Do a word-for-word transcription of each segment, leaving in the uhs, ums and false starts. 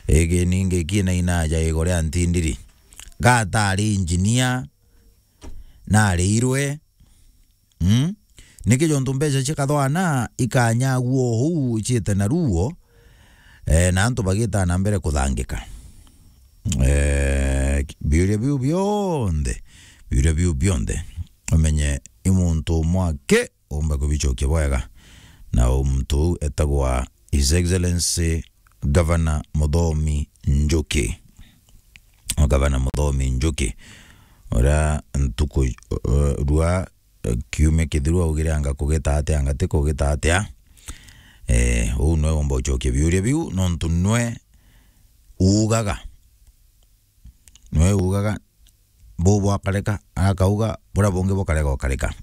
Igi ningi kina inaja igo ria ntindiri. Gatari engineer, narirwe. Mm? Niki jontu mbeca cikathwana ikanyagua uu iciite na ruo, eh, na antu bagitaa na mbere kuthangika. Eh, biuria biu bionthe, biuria biu bionthe, umenye i muntu umwe aki umba kubicokia bwega, na u muntu uu etagwa His Excellency Governor Muthomi Njuki. Governor Muthomi Njuki, uria ntuku, eh, rua, eh, kiumia kithiru augire anga kugita atia, anga ti kugita atia. Eh, uu nwe umba ucokia biuria biu, nontu nwe uugaga. Nwe uugaga, buu bwakareka, akauga, buria bungi bukarega ukareka.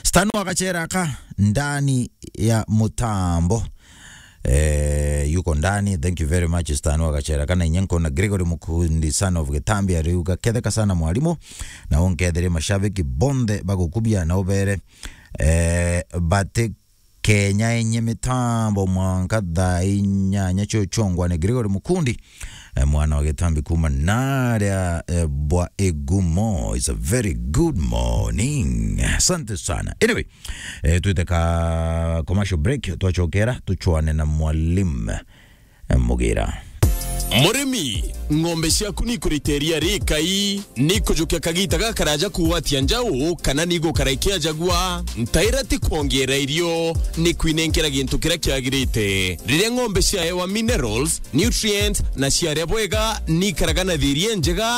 Stano agacera aka ndani ya mutambo. Eh, yuko ndani. Thank you very much, Stano agacera aka. Na inya nkona Gregory Mukundi, son of Gitambi, ariuga, "Ketheka sana mwalimu, na unkethere mashabiki bonthe bagukubia na ubere, eh, bati Kenya enye mitambo mwanka thaa inyanya cio chongwa ni Gregory Mukundi, eh, mwana wa Gitambi kuma naria, eh, bwa Igumo. It's a very good morning." Asante sana. Anyway, eh, twite ka commercial break, twachokera, tuchwane na mwalimu, eh, Mugira. Murimi, ng'ombe ciaku ni ikurita iria rikai? Ni ikujukia kagita gakaraja kugwatia njau, kana ni igukara ikiajagua? Ntaira ti kwongeera irio, ni kwinenkera gintu kiria kiagirite. Riria ng'ombe ciaewa minerals, nutrients, na ciaria bwega, ni ikaraga na thiiri injega.